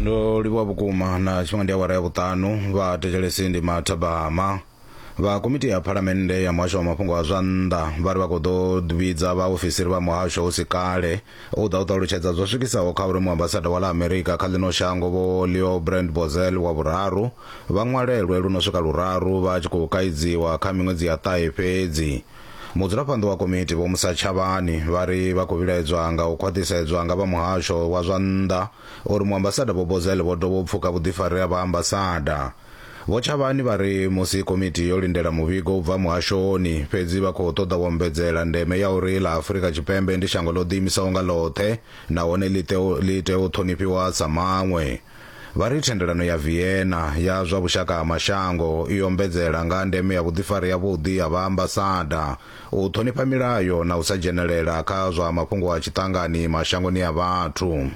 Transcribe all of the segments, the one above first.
Ndo livhuwa vhukuma na tshifhinga ndi awara ya vhuṱanu vha thetshelesi ndi mathabama. Vha komiti ya phalamennde ya muhasho wa mafhungo a zwa nnḓa vha ri vha khou ḓo vhidza vhaofisiri vha muhasho hu si kale u ḓa u ṱalutshedza zwo swikisaho kha uri muambasada wa ḽa Amerika kha ḽino shango Vho Leo Brand Bozell wa vhuraru vha ṅwalelwe lu no swika luraru vha tshi khou kaidziwa kha miṅwedzi ya ṱahe fhedzi. Mudzulaphanḓa wa komiti Vho Musa Tshavhani vha ri vha khou vhilaedzwa nga u khwaṱhisedzwa nga vha muhasho wa zwa nnḓa uri muambasada Vho Bozell vho dovha u pfuka vhuḓifari ha vhaambasada. Vho Tshavhani vha ri musi komiti yo lindela muvhigo u bva muhashoni, fhedzi vha khou ṱoḓa u ombedzela ndeme ya uri ḽa Afrika Tshipembe ndi shango ḽo ḓiimisaho nga ḽoṱhe nahone ḽi ḽi tea u ṱhonifhiwa sa maṅwe. Vha ri thendelano ya Vienna ya zwa vhushaka ha mashango i ombedzela nga ha ndeme ya vhuḓifari havhuḓi ha vhaambasada, u ṱhonifha milayo na u sa dzhenelela kha zwa mafhungo a tshiṱangani mashangoni a vhathu.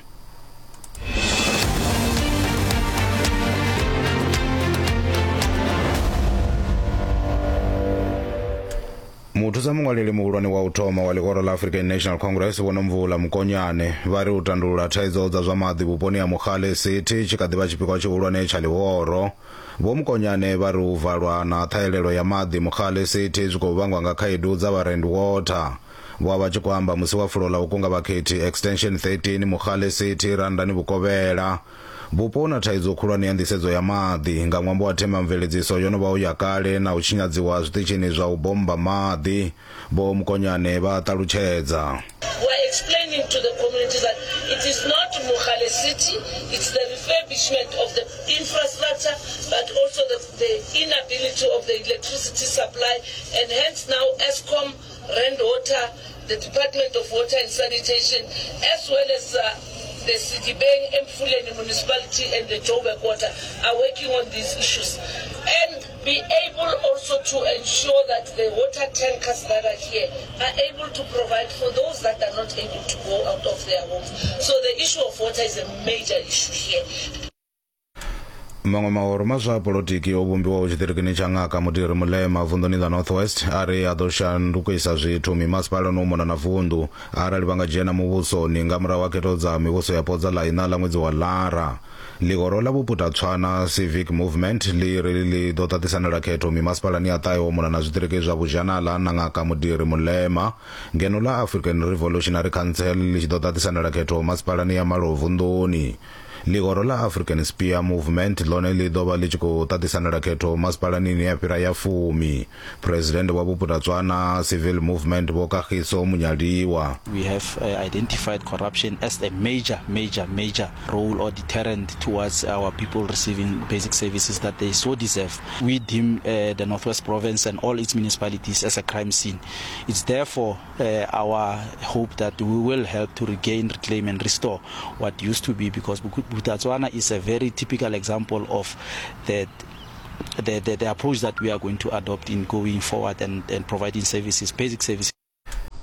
Muthusa muṅwaleli muhulwane wa u thoma wa ḽihoro ḽa African National Congress Vho Nomvula Mokonyane vha ri u tandulula thaidzo dza zwa maḓi vhuponi ha Mogale City tshi kha ḓi vha tshipikwa tshihulwane tsha ḽihoro. Vho Mokonyane vha ri u valwa na ṱhahelelo ya maḓi Mogale City zwi khou vhangwa nga khaedu dza vha Rand Water. Vho vha vha tshi khou amba musi wa fulo ḽa u kunga vhakhethi Extension 13 Mogale City Randani Vhukovhela. Vhupo hu na thaidzo khulwane ya nḓisedzo ya maḓi nga ṅwambo wa themamveledziso yo no vhaho ya kale na u tshinyadziwa ha zwiṱitshini zwa u bommba maḓi, Vho Mokonyane vha a ṱalutshedza. We are explaining to the community that it is not Mogale City, it's the refurbishment of the infrastructure but also the, the inability of the electricity supply and hence now Eskom, Rand Water, the Department of Water and Sanitation as well as the Sedibeng, Emfuleni Municipality and the Joburg Water are working on these issues and be able also to ensure that the water tankers that are here are able to provide for those that are not able to go out of their homes. So the issue of water is a major issue here. Maṅwe mahoro ma zwa polotiki o vhumbiwaho tshiṱirikini tsha Ngaka Mudiri Molema vunḓuni ḽa North West a ri a ḓo shandukisa zwithu mimasipalani u mona na vunḓu arali vha nga dzhena muvhusoni nga murahu ha khetho dza mivhuso yapo dza ḽa iṋa ḽa ṅwedzi wa Lara. Ḽihoro ḽa Vhuputatswana Civic Movement ḽi ri ḽi ḓo ṱaṱisanela khetho mimasipalani ya ṱahe u mona na zwiṱiriki zwa Vhuzhanala na Ngaka Mudiri Molema ngeno ḽa African Revolutionary Council ḽi tshi ḓo ṱaṱisanela khetho masipalani ya malo vunḓuni. Ḽihoro ḽa African Spear Movement ḽone ḽi ḓo vha ḽi tshi khou ṱaṱisanela khetho masipalani ine ya fhira ya fumi. Phresidennde wa Vhuputatswana Civil Movement Vho Kagiso Munyaliwa. We have identified corruption as a major, major, major role or deterrent towards our people receiving basic services that they so deserve. We deem the Northwest Province and all its municipalities as a crime scene. It's therefore our hope that we will help to regain, reclaim and restore what used to be, because Bophuthatswana is a very typical example of the approach that we are going to adopt in going forward and providing services, basic services.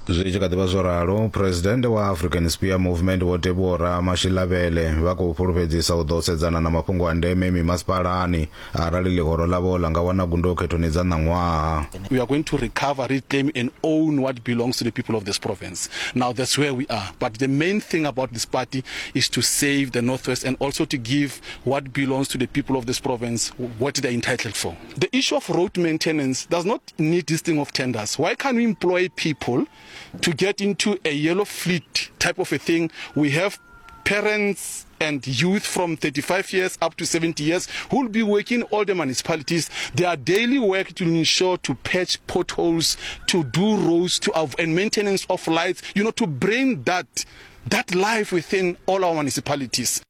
Zwi tshi kha ḓi vha zwo ralo, Phresidennde wa African Spear Movement Vho Teboho Mashilavhele vha khou fhulufhedzisa u ḓo sedzana na mafhungo a ndeme mimasipalani arali ḽihoro ḽavho ḽa nga wana gundo khethoni dza ṋaṅwaha. We are going to recover, reclaim and own what belongs to the people of this province. Now that's where we are. But the main thing about this party is to save the Northwest and also to give what belongs to the people of this province what they're entitled for. The issue of road maintenance does not need this thing of tenders. Why can't we employ people to get into a yellow fleet type of a thing? We have parents and youth from 35 years up to 70 years who will be working all the municipalities. Their daily work to ensure to patch potholes, to do roads, to have, and maintenance of lights, you know, to bring that, that life within all our municipalities.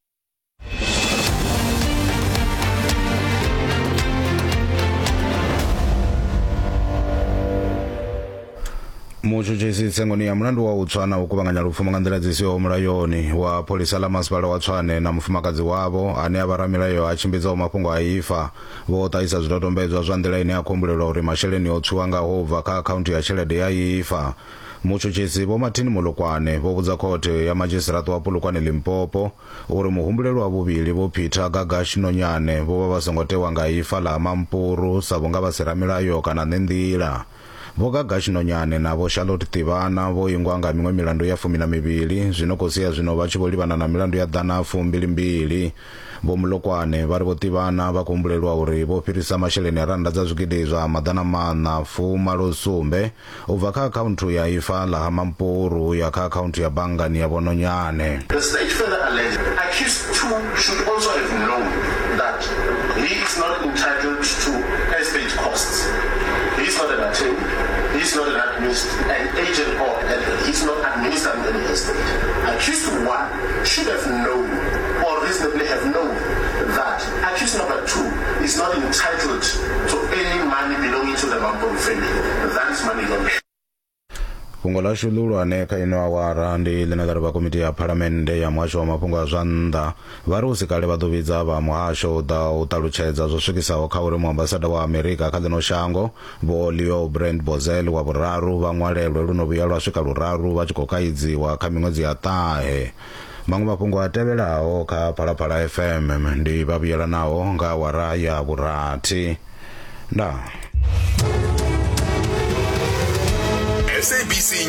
Mutshutshisi tsengoni ya mulandu wa u tswa na u kuvhanganya lupfumo nga nḓila dzi siho mulayoni wa pholisa ḽa masipala wa Tshwane na mufumakadzi wavho ane a vha ramilayo a tshimbidzaho mafhungo a ifa vho ṱahisa zwidodombedzwa zwa nḓila ine ya khou humbulelwa uri masheleni o tswiwa ngaho u bva kha akhaunthu ya tshelede ya ifa. Mutshutshisi Vho Martin Molokwane vho vhudza khothe ya madzhisiṱiraṱa wa Polokwane Limpopo uri muhumbulelwa wa vhuvhili Vho Peter Gagash Nonyane vho vha vha songo tewa nga ifa ḽa ha Mampuru sa vhunga vha si ramilayo kana ṋenḓila. Vho Gagash Nonyane na Vho Charlotte Tivana vho ingwa nga miṅwe milandu ya 12, zwi no khou sia zwino vha tshi vho livhana na milandu ya ḓana 22. Vho Mulokwane vha ri Vho Tivana vha khou humbulelwa uri vho fhirisa masheleni a rannda dza zwigidi zwa 487 u bva kha akhaunthu ya ifa ḽa ha Mampuru u ya kha akhaunthu ya banngani ya Vho Nonyane. The state further alleged accused 2 should also have known that he is not entitled to estate costs. He is not an attorney, he is not an administ an agent or an, he is not administering any estate. Accused 1 should have known or reasonably have known that accused number 2 is not entitled to any money belonging to the Mampuru family. That is money laundering. Fhungo ḽashu ḽihulwane kha ino awara ndi ḽine ḽa ri vha komiti ya phalamennde ya muhasho wa mafhungo a zwa nnḓa vha ri hu si kale vha ḓo vhidza vha muhasho u ḓa u ṱalutshedza zwo swikisaho kha uri muambasada wa Amerika kha ḽino shango Vho Leo Brand Bozel wa vhuraru vha ṅwalelwe lu no vhuya lwa swika luraru vha tshi khou kaidziwa kha miṅwedzi ya ṱahe. Maṅwe mafhungo a tevhelaho kha Phalaphala FM ndi vha vhuyelanaho nga awara ya vhurathi. Ndaa. SABC.